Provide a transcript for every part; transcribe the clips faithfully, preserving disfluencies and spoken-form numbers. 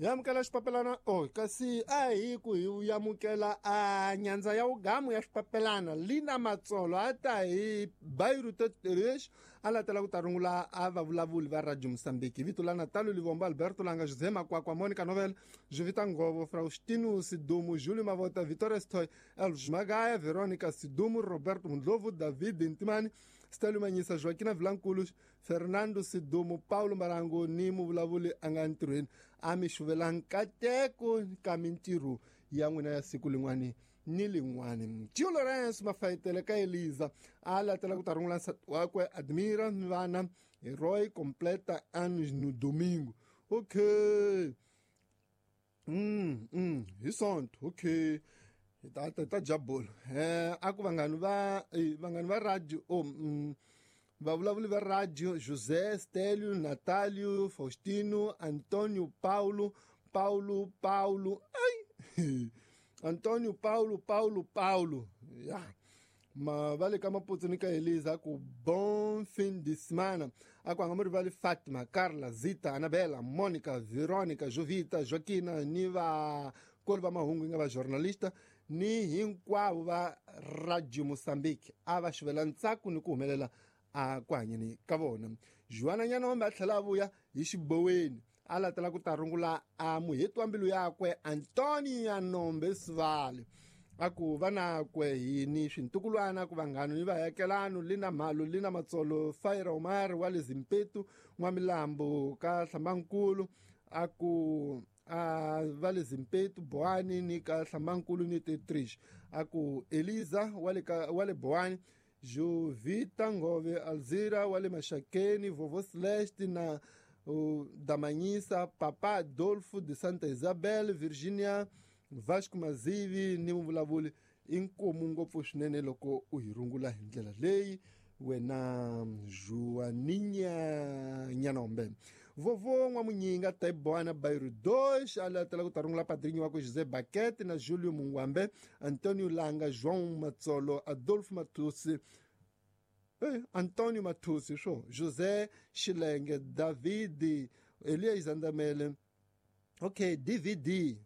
Yamukela xipapelana oh kasi a hi ku hi yamukela a nyandza ya ugamu ya xipapelana Lina Matsolo a ta hi Bairro Teteresh a latela ku ta rungula a vavulavuli va Radio Mozambique vito la Natalio Livombo Alberto Langa José Makwakwa Monica Novel Jovita Ngovo Faustino Sidumo Júlio Mavota Vitória Stoy Elvis Magaya Veronica Sidumo Roberto Mundlovu David Ntimani Stelio Manyisa Joaquina Vilanculos Fernando Sidumo Paulo Marango ni muvulavuli a nga ntirhweni a mi xuvela nkateko ka mintirho ya n'wina ya siku lin'wani ni lin'wani. Tio Lawrence Mafayetele ka Eliza a latela ku ta rungula nsati wakwe Admira ni vana Roy completa anos no domingo. Okay. Mm, mm, hi sonto. Okay. Ta ta ta jabolo. Eh a ku vanghani va vanghani va radio oh mm, vavulavuli va radio José Stelio Natalio Faustino Antonio Paulo Paulo Paulo ai Antonio Paulo Paulo Paulo ya ma vale ka Maputo ni ka Elisa ku bon fim de semana a ku anga rivali Fatima Carla Zita Anabela Monica Veronica Jovita Joaquina ni va kolo va mahungu nga va journalista ni hinkwavo va Radio Mozambique a va xivela ntsako ni ku humelela a ku hanyeni ka vona. Joana Nyanombe a tlhela a vuya hi xiboweni a latela ku ta rungula a muheti wa mbilu yakwe Antonio Nyanombe Sivale a ku vanakwe hi ni swintukulwana ku vanghano ni vayakelano Lina Mhalo Lina Matsolo Faira Omar wa le Zimpetu N'wamilambo ka Hlambankulu a ku a va le Zimpetu Boani ni ka Hlambankulu ni Tetrish a ku Eliza wa le ka wa le Boani Jovita Ngove Alzira wa le Mashakeni Vovo Celeste na uh, Damanyisa Papa Adolfo de Santa Isabel Virginia Vasco Mazivi ni muvulavuli inkomu ngopfu swinene loko u hi rungula hi ndlela leyi wena Joaninha Nyanombe. Vovo N'wamunyinga Taibwana Bairro dois a latela ku ta rungula padrinho wakwe José Baquete na Júlio Mungwambe Antonio Langa João Matsolo Adolfo Matusi eh, Antonio Matusi swo José Xilenge David Elias Andamele okay D V D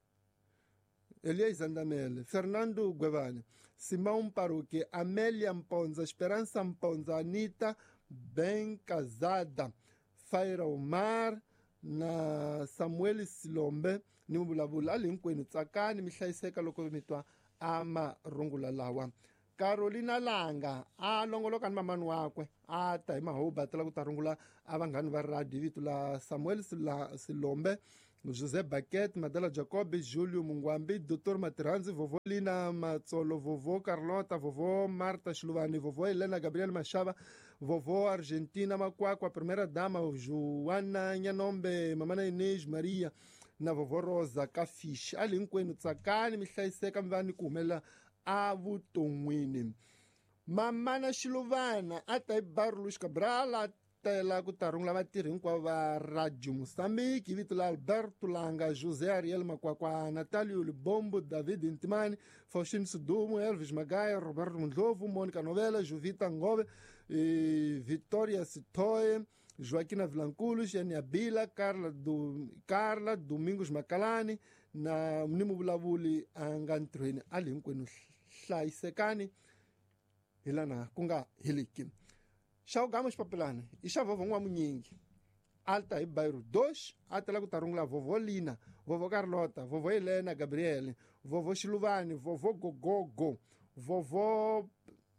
Elias Andamele Fernando Guevane Simão Paruque Amélia Mponza Esperança Mponza Anita Bem Casada Faira Omar na Samuel Silombe ni muvulavuli a le hinkwenu tsakani mi hlayiseka loko mi twa a marungula lawa. Carolina Langa a longoloka ni mamani wakwe a ta hi mahoba a tela ku ta rungula a vanghani va radio vito la Samuel Silombe José Baquete Madela Jacob Júlio Mungwambi Doutor Matiranzi Vovo Lina Matsolo Vovo Carlota Vovo Marta Xiluvani Vovo Helena Gabriel Machava Vovo Argentina Makwakwa Primeira Dama Joana Nyanombe Mamana Inês Maria na Vovo Rosa Kafish a le hinkwenu tsakani mi hlayiseka mi va ni ku humelela a vuton'wini. Mamana Xiluvana a ta hi Barulus Cabral a tela ku ta rungula vatirhi hinkwavo va Radio Mozambique hi vito la Alberto Langa José Ariel Makwakwa Natalio Libombo David Ntimani Faustino Sidumo Elvis Magaya Roberto Mundlovu Monica Novela Jovita Ngove eh, Vitória Sitoe Joaquina Vilanculos Xenia Bila Carla, du, Carla Domingos Macalani na ni muvulavuli a nga ntirhweni a le hinkwenu hlayisekani hi lana ku nga heliki. Xa ugama xipapelana i xa Vovo N'wamunyingi alta hi Bairro dois a tela ku ta rungula Vovo Lina Vovo Carlota Vovo Helena Gabriel Vovo Xiluvani Vovo Gogogo Vovo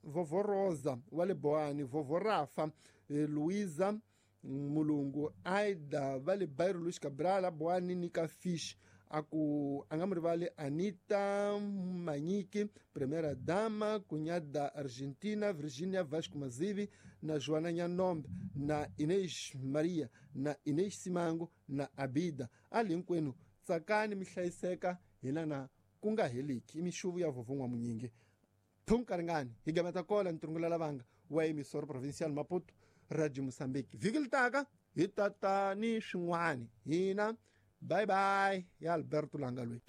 Vovo Rosa wa le Boani Vovo Rafa eh, Luisa Mulungu Aida va le Bairro Luís Cabral Boani ni ka Fish a ku a nga mu rivali Anita Manyiki Primeira Dama cunhada Argentina Virginia Vasco Mazivi na Joana Nyanombe na Inês Maria na Inês Simango na Abida a le hinkwenu tsakani mi hlayiseka hi lana ku nga heliki i mixuvu ya Vovo N'wamunyingi thunkaringani hi gameta kola ni tirungula lavanga wa emisoro provincial Maputo Radio Mozambique vhiki li taka hi tata ni swin'wani hina. Bye bye ya Alberto Langa loyi.